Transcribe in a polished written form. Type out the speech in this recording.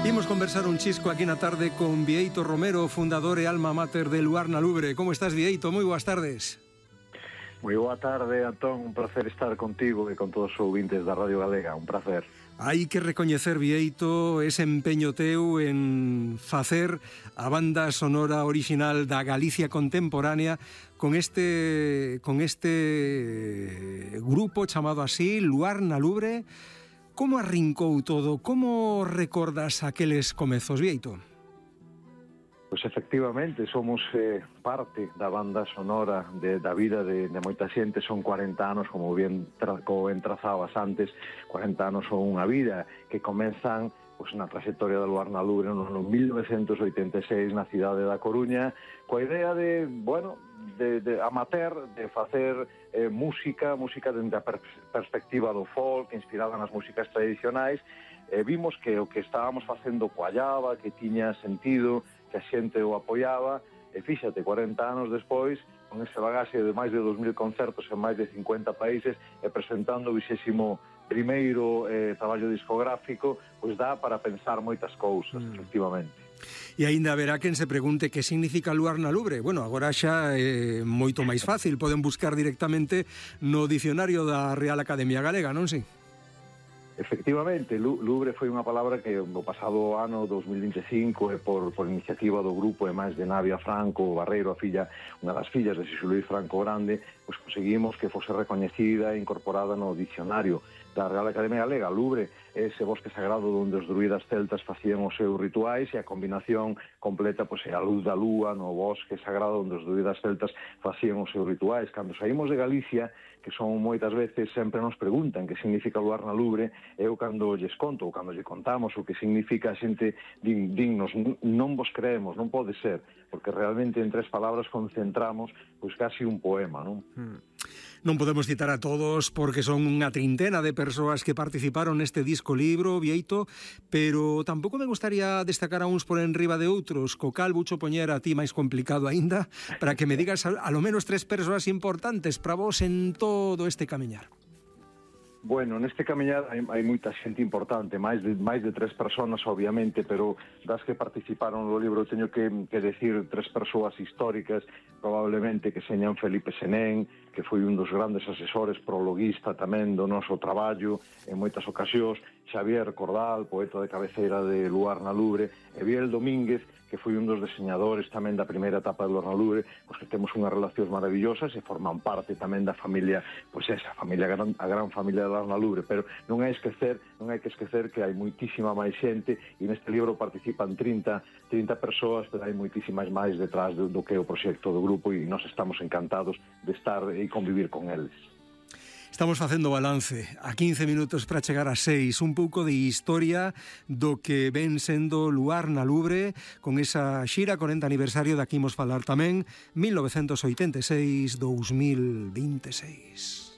Imos conversar un chisco aquí na tarde con Bieito Romero, fundador e alma mater de Luar na Lubre. Como estás, Bieito? Moi boas tardes. Moi boa tarde, Antón. Un placer estar contigo e con todos os ouvintes da Radio Galega. Un placer. Hai que recoñecer, Bieito, ese empeño teu en facer a banda sonora original da Galicia contemporánea con este grupo chamado así, Luar na Lubre. Como arrincou todo? Como recordas aqueles comezos, Bieito? Pois efectivamente, somos parte da banda sonora da vida de moita xente. Son 40 anos, como ben trazabas antes, 40 anos son unha vida que comenzan na trayectoria de Luar na Lubre no ano 1986 na cidade da Coruña, coa idea de amateur, de facer música dende a perspectiva do folk, inspirada nas músicas tradicionais. Vimos que o que estábamos facendo coallaba, que tiña sentido, que a xente o apoiaba, e fíxate, 40 anos despois, con ese bagaxe de máis de 2000 concertos en máis de 50 países e presentando o 21º traballo discográfico, pois dá para pensar moitas cousas, efectivamente. E aínda haberá quen se pregunte que significa Luar na Lubre. Bueno, agora xa é moito máis fácil, poden buscar directamente no dicionario da Real Academia Galega, non si? Efectivamente, Lubre foi unha palabra que no pasado ano 2025 por iniciativa do grupo e máis de Navia Franco Barreiro, unha das fillas de Xosé Luis Franco Grande, pois conseguimos que fose recoñecida e incorporada no dicionario da Real Academia Galega. Lubre é ese bosque sagrado onde os druidas celtas facían os seus rituais, e a combinación completa pois é a luz da lúa no bosque sagrado onde os druidas celtas facían os seus rituais. Cando saímos de Galicia, que son moitas veces, sempre nos preguntan que significa Luar na Lubre, eu cando lles conto ou cando lle contamos o que significa, a xente dignos, non vos creemos, non pode ser, porque realmente en 3 palabras concentramos pois casi un poema, non? Non podemos citar a todos porque son unha trintena de persoas que participaron neste disco libro, Bieito, pero tampouco me gustaría destacar a uns por enriba de outros, co cal bucho poñer a ti máis complicado aínda, para que me digas a lo menos 3 persoas importantes para vos en todo este camiñar. Bueno, neste camiñar hai moita xente importante, máis de 3 personas, obviamente, pero das que participaron no libro teño que decir 3 persoas históricas, probablemente, que señan Felipe Senén, que foi un dos grandes asesores, prologuista tamén do noso traballo en moitas ocasións, Xavier Cordal, poeta de cabeceira de Luar na Lubre, e Biel Domínguez, que foi un dos diseñadores tamén da primeira etapa de Luar na Lubre, pois que temos unhas relacións maravillosas e forman parte tamén da familia, pois esa familia, a gran familia de Luar na Lubre, pero non hai que esquecer que hai moitísima máis xente, e neste libro participan 30 persoas, pero hai moitísimas máis detrás do que é o proxecto do grupo, e nós estamos encantados de estar e convivir con eles. Estamos facendo balance a 15 minutos para chegar a 6, un pouco de historia do que ven sendo Luar na Lubre, con esa xira 40 aniversario da que imos falar tamén, 1986-2026.